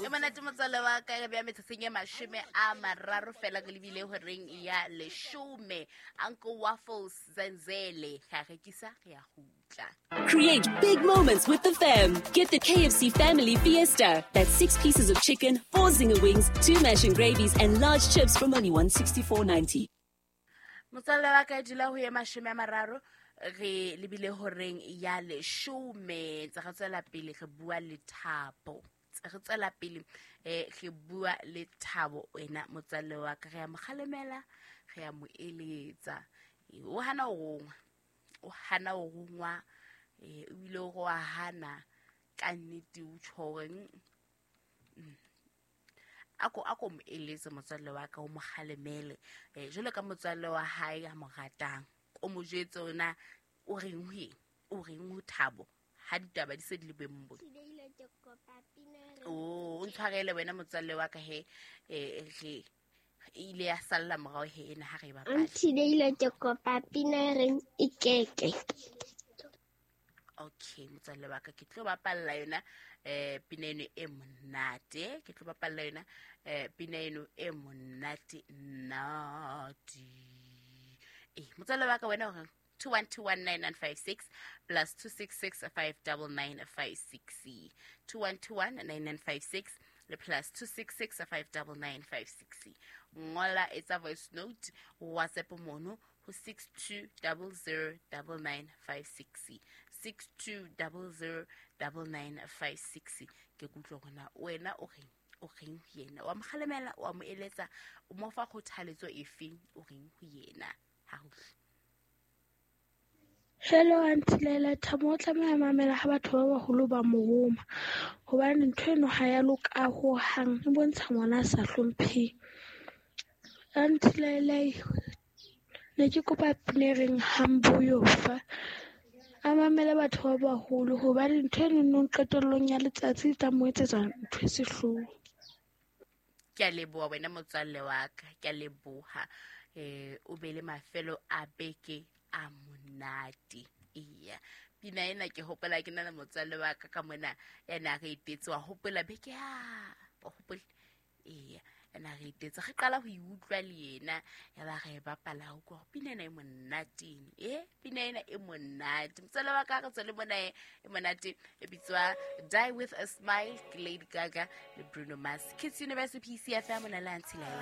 E monate motswalle wa ka, re beya metsotsong e 30 fela re lebile horeng ya 10. Uncle Waffles Zenzele ga rekisa re ya gutla. Create big moments with the fam. Get the KFC Family Fiesta. That's 6 pieces of chicken, 4 zinger wings, 2 mash and gravies, and large chips from only $164.90. Motswalle wa ka, dula ho ye 30 re lebile horeng ya 10. Tse re tswela pele re bua le Thabo. Re tswela pele re bua le Thabo wena motswalle wa ka, re ya mo kgalemela, re ya mo eletsa. O hana ho rongwa, o hana ho rongwa, ebile o wa hana ka nnete, o tjho hore, ako mo eletse motswalle wa ka, o mo kgalemele. Jwalo ka motswalle wa hae a mo ratang, o mo jwetse hore na o reng ho eng, o reng ho Thabo ha ditaba di se di le boemong bo. O ntshwarele wena motswalle wa ka he, re ile ya salla morao he ena ha re bapala. Auntie Leila, ke kopa pina e reng ikeke. Okay, motswalle wa ka, ke tlo bapalla yona pina eno e monate. Ke tlo bapalla yona pina eno e monate nati. Motswalle wa ka wena o reng? 21219956 plus 266 59956. 21219956 le plus 266 59956. Ngola, etsa voice note, WhatsApp mono ho 62009956, 62009956. Ke kutlwa hore na wena o reng, o reng ho yena, wa mo kgalemela, wa mo eletsa, o mo fa kgothaletso efeng, o reng ho yena? Ha ho Hello Auntie Leila, Thabo o tlameha mamela ha batho ba baholo ba mo roma, hobane ntho eno ha ya loka hohang, e bontsha ngwana a sa hlompheng. Auntie Leila, ne ke kopa pina e reng Hambuyofa, a mamele batho ba baholo, hobane ntho eno nong qetellong ya letsatsi e tla mo etsetsa ntho e sehloho. Ke a leboha wena motswalle wa ka, ke a leboha. O be le mafelo a beke a monate. Eya, pina ena ke hopola ke na le motswalle wa ka ka mona ya na re etetse, wa hopola beke ya, wa hopola? Eya, ya na re etetse, re qala ho e utlwa le yena, ya ba re e bapala, ho utlwa hore pina ena e monate. Pina ena e monate. Motswalle wa ka, re tswele mona e monate, e bitswa Die With a Smile, ke Lady Gaga le Bruno Mars. Kids University PCFM, mona le Auntie Laila.